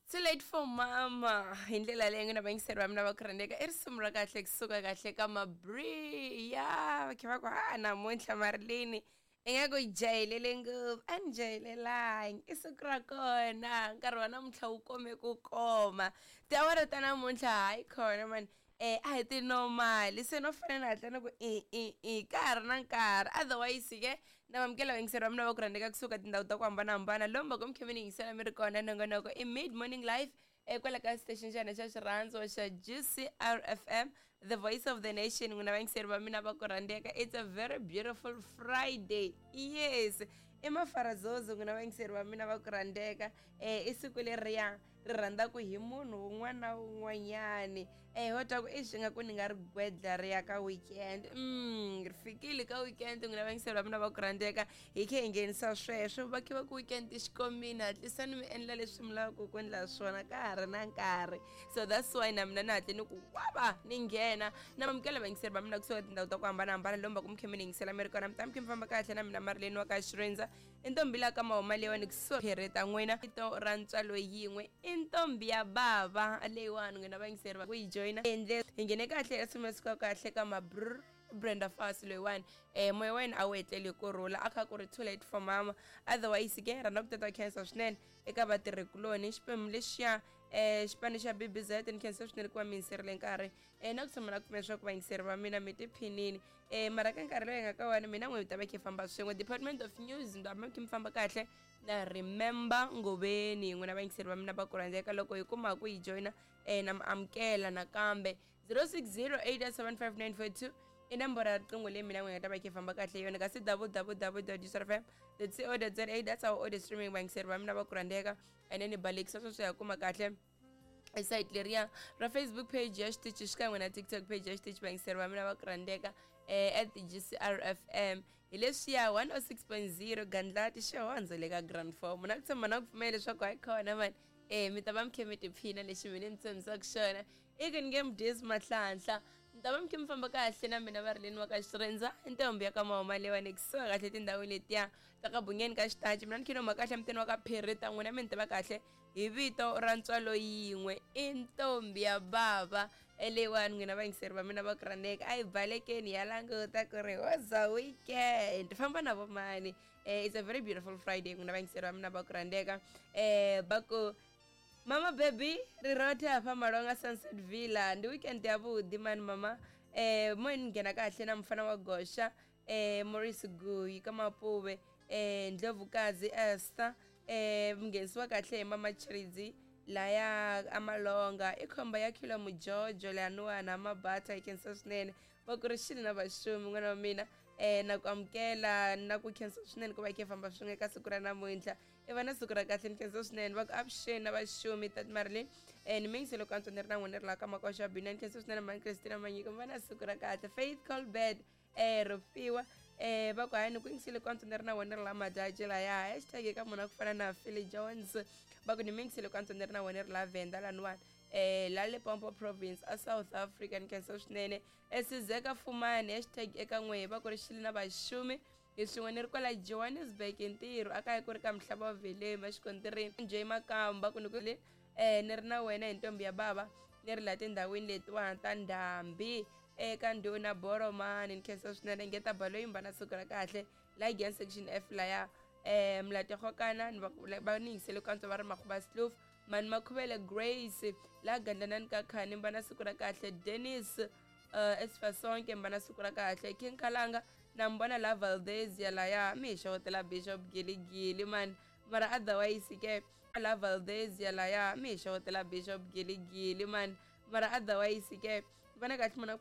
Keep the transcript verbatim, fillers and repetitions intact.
Too late for mama hi ndlela leyi n'wina vayingiseri va mina va ku rhandzeka i risimu ra kahle kusuka kahle ka mabri ya va khe va ku ha namuntlha marilini ingaku yi jahilele ngopfu a ni jahelelangi i siku ra kona nkarhi wa namuntlha wu kome ku koma tiawara ta namuntlha hayi khona mani eh a hi tinomali se no fanele ni hatla ni ku i i i ka ha ri na nkarhi otherwise ke na vamukela vayingiseri va mina va ku rhandzeka kusuka tindhawu ta ku hambanahambana lomu va ku mi khe mi ni yingisela mi ri kona nongonoko i mid morning life kwala ka station xa hina xa xirhandzo xa G C R F M, the voice of the nation. N'wina vayingiseri va mina va ku rhandzeka, it's a very beautiful Friday. Yes, i mafarazozo. N'wina vayingiseri va mina va ku rhandzeka, um i siku leriya ri rhandzaka hi munhu wun'wana na wun'wanyani. um ho twa ku i swi nga ku ni nga ri gwedla ri ya ka weekend. mm ri fikile ka weekend. N'wina vayingiseri va mina va ku rhandzeka, hi khe hi nghenisa sweswo va khe va ku weekend xikomini, hatlisani mi endla leswi mi lavaka ku endla swona ka ha ri na nkarhi. So that's why na mina ni hatle ni ku wava ni nghena. Na mamukela vayingiseri va mina kusuka tindhawu ta ku hambanahambana lomu va ku mi khe mi ni yingisela mi ri kona. Mi ta mi khe mi famba kahle na mina Marileni wa ka Xirindza, i ntombi la ka mahuma leyiwani kusuhi phereta n'wina vito ra ntswalo yin'we i ntombi ya bava leyiwani. N'wina vayingiseri va ku yi joyina endle hi nghene kahle esimesika kahle ka mabrr Brenda Fassie loyiwani. um moya wa yena a wu etleli ku rhula, a kha ku ri "Too Late for Mama". Otherwise ke rhandza ku tata khensa swinene eka vatirhikuloni xiphemu lexiya um xipano xa B B Z. Ni khensa swinene ku va mi yingiserile nkarhi um na ku tshama na kumela leswaku vayingiseri va mina mi tiphinini. um mara ka nkarhi lowu hi nga ka wona, mina n'we mi ta va khe famba swin'we department of news mi ta va khe mi famba kahle na Remember Ngoveni. N'wina vayingiseri va mina va ku rhandzeka, loko hi kuma ku yi joyina um na mi amukela nakambe zero six zero eight seven five nine four two i nomboro ya riqingho leyi mina n'wi nga ta va khe famba kahle yona, kasi w w w dot fm co za, that's our audio streaming. Vayingiseri va mina va ku rhandzeka, and then ni balekisa sweswo ya kuma kahle site leriya ra Facebook page ya xitichi xikan'we na TikTok page ya xitichi. Vayingiseri va mina va ku rhandzeka, eh, at G C R F M hi leswiya one oh six point zero gandlati xihondzo le ka grand form na ku tshemba na ku pfumela leswaku hayi khona mani eh mi ta va mi khe mi tiphina. Lexi mina ni tshembisaka xona i ku ni nge mi dyisi mahlanhla, mi ta va mi khe mi famba kahle na mina varileni wa ka Xirindza, i ntombi ya ka mahuma leyiwani kusuka kahle tindhawini letiya ta ka bungeni ka xitachi. Mina ni khe ni huma kahle mutini wa ka Pherita. N'wina mi ni tiva kahle hi vito ra ntswalo yin'we i ntombi ya bava leyiwani. N'wina vayingiseri va mina va ku rhandzeka, a hi balekeni ya languta ku ri hoza weekend famba na vomani. eh, it's a very beautiful Friday. N'wina vayingiseri va mina va ku rhandzeka, eh, va ku mama baby rirothe hafha Malonga Sunset Villa, ndi weekend ya vhuḓi mani mama. eh mo ni nghena kahle na mufana wa goxa eh Maurice Guyi ka Mapuve, eh Ndlovukazi Esther, eh mnghenisiwa kahle hi mama Chridzi laya amalonga i khomba ya khilo mujojo leyaniwani amabata. Hi khensa swinene va ku ri xini na vaxumi n'wana wa mina. eh na ku amukela na ku khensa swinene ku va khe famba swin'we ka siku ra namuntlha. I va na siku ra kahle, ni khensa swinene. Va ku avuxeni na vaxumi tat Marilyn, eh ni mingiselo ku antswa ni ri na n'wina ri laha ka makoxa bina. Ni khensa swinene mani Christina Manyiko, mi va na siku ra kahle. Faith Colbert eh Rofiwa, eh va ku hayi ni ku yingisile ku antswa ni ri na wena ri la Madaji laya. Hashtag eka munhu a ku fana na Philly Jones, va ku ni mingisile ku antswa ni ri na wena ri la Venda laniwani, eh la Limpopo province a South Africa. Ni khensa swinene esizeka fumani. Hashtag eka n'we va ku ri xili na vaxumi hi swin'we ni ri kwala Johannesburg hi ntirho a kaya ku ri ka Mhlaba wa Velema xikontirini J Makamba ku ni ku eh ni ri na wena hi ntombi ya bava ni ri laha tindhawini letiwani ta ndhambi eka ndhuna Boromani. Ni khensa swinene ngeta balo yimba na siku ra kahle la Gian section F laya eh Mlategokana ni va va ni yingisele ku antswa va ri Makhuba Sloof mani Makhuvele Grace la Gandlanani ka Khani, mba na siku ra kahle. Dennis uh, Esfasonke, mba na siku ra kahle. King Kalanga na mbona la Valdezia laya mi hi xewetela Bishop Giligili mani. Mara otherwise ke la Valdezia laya mi hi xewetela Bishop Giligili mani. Mara otherwise ke vana kahle muna.